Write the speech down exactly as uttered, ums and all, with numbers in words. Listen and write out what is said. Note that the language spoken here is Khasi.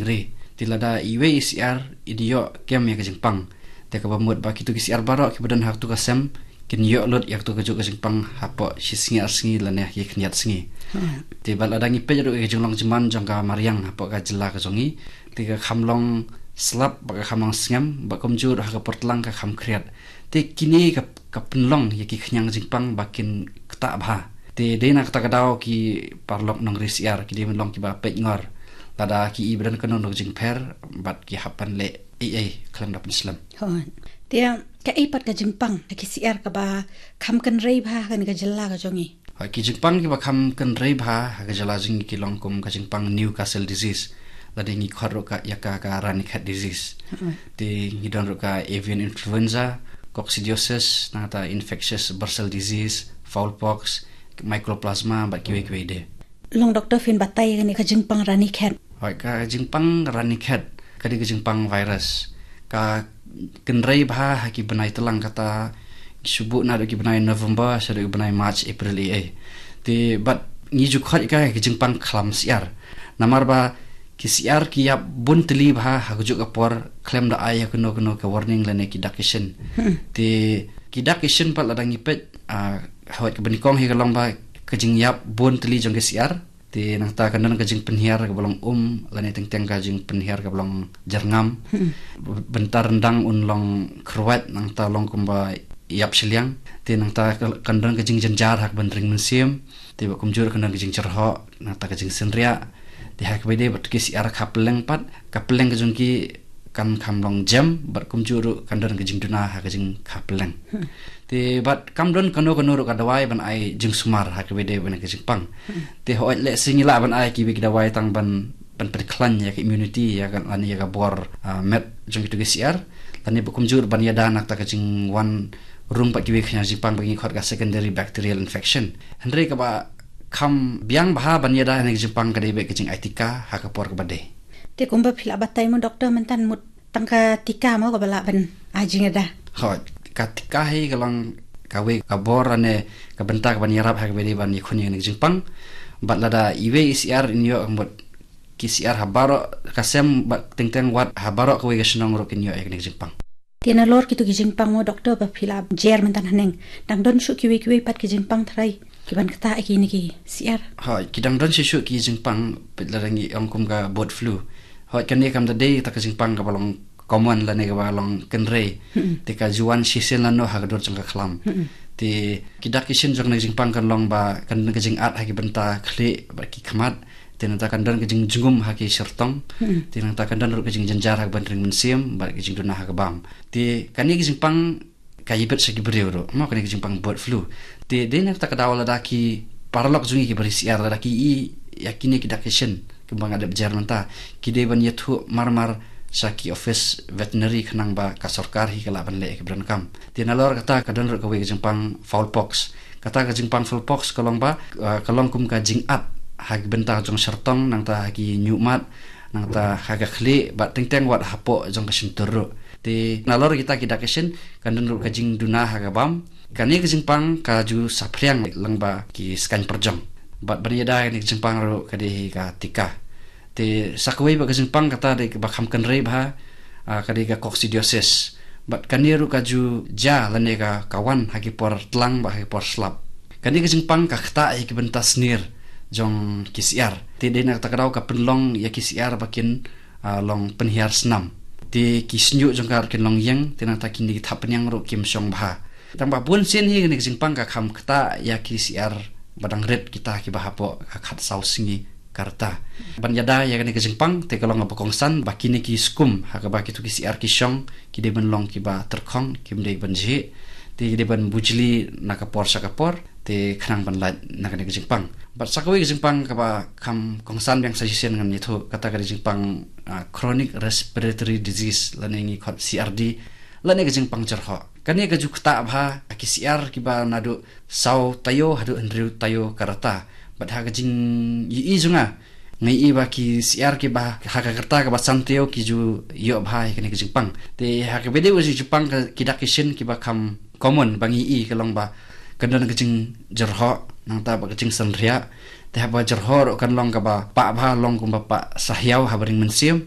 Ri. Te lada iwei i syiar i ïoh kem ïa ka jingpang, te kaba mut ba kito ki syiar baroh kiba don ha kato ka sem kin ïoh lut ïa kato kajuh ka jingpang hapoh shi sngi ar sngi lane ha ki khyndiat sngi. Te bad lada ngi peit ruh ïa ka jinglong jingman jong ka mariang hapoh ka jylla ka jong ngi, te ka kham long slap bad ka kham long sngem bad kumjuh ruh ha ka por tlang ka kham khriat. Te kine ka, ka pynlong ïa ki khñiang jingpang ba kin ktah bha. Te dei na kata ka daw ki paralok nongri syiar ki dei ban long kiba peit ngor lada ki i ba don kano kano ka jingpher bad ki hap ban leh ei ei khlem da pynslem. Hooid. Te kaei pat ka jingpang ha ki syiar kaba kham kynrei bha ha kane ka jylla ka jong ngi? Hooid, ki jingpang kiba kham kynrei bha ha ka jylla jong ngi ki long kum ka jingpang Newcastle disease, lane ngi khot ruh ka ïa ka ka Ranikhet disease. Hooid. Te ngi don ruh ka avian influenza, coccidiosis, nangta infectious bursal disease, fowl pox, mycoplasma bad kiwei kiwei de. Long doktor, phin batai ïa kane ka jingpang Ranikhet? Hooid, ka jingpang Ranikhet ka dei ka jingpang virus. Ka kynrei bha ha ki bnai tlang, kata shu buh naduh ki bnai November shaduh ki bnai March, April, ei ei. Te bad ngi ju khot ïa ka ka jingpang khlam syiar. Namar ba ki syiar ki ïap bun tylli bha ha kajuh ka por khlem da ai ïa kano kano ka warning lane ki dak ki shin. Hmm. Te ki dak ki shin pat lada ngi peit, ah, hooid, kaba nyngkong hi ka long ba ka jingïap bun tylli jong ki syiar. Te nangta kan don ka jingpynhiar kaba long um lane teng teng ka jingpynhiar kaba long jyrngam. Hmm. Bynta ryndang un long kyrwat, nangta long kumba ïap shiliang. Te nangta ka, kan don ka jingjynjar ha ka ban ring mynsiem. Te bad kumjuh kan don ka jingjyrhoh, nangta ka jingsynriah. Te ha kaba ïadei bad ki syiar kha pylleng pat, ka pylleng ka jong ki kan kham long jem bad kumjuh ruh kan don ka jingduna ha ka jingkha pylleng. Hmm. Te bad kam don kano kano ruh ka dawai ban ai jingsumar ha kaba ïadei bad ka jingpang. Hmm. Te hooid, lehse ngi lah ban ai kiwei ki dawai tang ban, ban pynkhlaiñ ïa ka immunity, ïa ka, lane ïa ka bor, ah, met jong kito ki syiar. Lane bad kumjuh ban ïada na kata ka jingwan rung pat kiwei ki khñiang jingpang ba ngi khot ka secondary bacterial infection. Hynrei kaba kham biang bha ban ïada na ka jingpang ka dei beit ka jingai tika ha ka por kaba dei. Te kumba phi la batai mo doktor, mynta mut tang ka tika mo kaba lah ban ai jingïada? Hooid, ka tika hi ka long kawei ka bor lane ka bynta kaban ïarap ha kaba ïadei ban ïakhun ïa kane ka jingpang. Bad lada iwei i syiar in ïoh, mut ki syiar ha baroh ka sem bad teng teng wat ha baroh kawei ka shnong ruh kin ïoh ïa kane ka jingpang. Te nalor kito ki jingpang mo doktor ba phi la jer mynta haneng, dang don shuh kiwei kiwei pat ki jingpang tharai kiban ktah ïa kine ki syiar? Hooid, ki dang don shuh shuh ki jingpang, peit lada ngi ong kum ka bird flu. Hooid, kane kam da dei kata ka jingpang kaba long common lane kaba long kynrei. Hmm. Te ka ju wan shisien lano ha ka dur jong ka khlam. Hmm. Te ki dak ki shin jong kane ka jingpang kan long ba kan don ka jingat ha ki bynta khlieh bad ki khmat. Te nangta kan don ka jingjngum ha ki shyrtong. Hmm. Te nangta kan don ruh ka jingjynjar ha ka ban ring mynsiem bad ka jingduna ha ka bam. Te kane ka jingpang ka ïabit sha ki briew ruh, mo, kane ka jingpang bird flu. Te dei na kata ka daw lada ki paralok jong ngi kiba ri syiar lada ki i ïa kine ki dak ki shin kumba nga dep jer mynta, ki dei ban ïathuh mar mar sha ki office veterinary khnang ba ka sorkar hi ka lah ban leh ïa ki ba donkam. Te nalor kata ka don ruh kawei ka jingpang fowl pox. Kata ka jingpang fowl pox ka long ba, ah, ka long kum ka jingat ha ki bynta jong shyrtong, nangta ha ki ñiuhmat, nangta ha ka khlieh bad teng teng wat hapoh jong ka shyntur ruh. Te nalor kita ki dak ki shin kan don ruh ka jingduna ha ka bam. Kane ka jingpang ka ju saphriang lyngba ki skaiñ pyrjong. Bad ban ïada ïa kane ka jingpang ruh ka dei hi ka tika. Te sa kawei pat ka jingpang kata dei kaba kham kynrei bha, ah, ka dei ka coccidiosis. Bad kane ruh ka ju jia lane ka, ka wan ha ki por tlang bad ha ki por slap. Kane ka jingpang ka ktah ïa ki bynta snier jong ki syiar. Te dei na kata ka daw ka pynlong ïa ki syiar ba kin, ah, long pynhiar snam. Te ki shñiuh jong ka ruh kin long ïeng, te nangta kine ki thapniang ruh kim shong bha. Tang ba bun sien hi kane ka jingpang ka kham ktah ïa ki syiar ba dang rit, kita kiba hapoh ka khatsaw sngi ka rta. Ban ïada ïa kane ka jingpang te ka long kaba kongsan ba kine ki skum ha kaba kito ki syiar ki shong ki dei ban long kiba tyrkhong, kim dei ban jhieh. Te ki dei ban bujli na ka por sha ka por, te khnang ban lait na kane ka jingpang. Bad sa kawei ka jingpang kaba kham kongsan biang sa shisien ngan ïathuh, kata ka dei jingpang, ah, chronic respiratory disease lane ngi khot C R D, lane ka jingpang jyrhoh. Kane ka ju ktah bha ha ki syiar kiba naduh saw taïew haduh hynriew taïew ka rta. Bad ha ka jingïohi jong nga, nga ïohi ba ki syiar kiba ha ka rta kaba san taïew ki ju ïoh bha ïa kane ka jingpang. Te ha kaba ïadei bad ka jingpang ka, ki dak ki shin kiba kham common ba ngi ïohi ka long ba kan don ka jingjyrhoh, nangta bad ka jingsynriah, Te haba jyrhoh ruh kan long kaba pah bha, long kumba pah sahiaw ha baring mynsiem.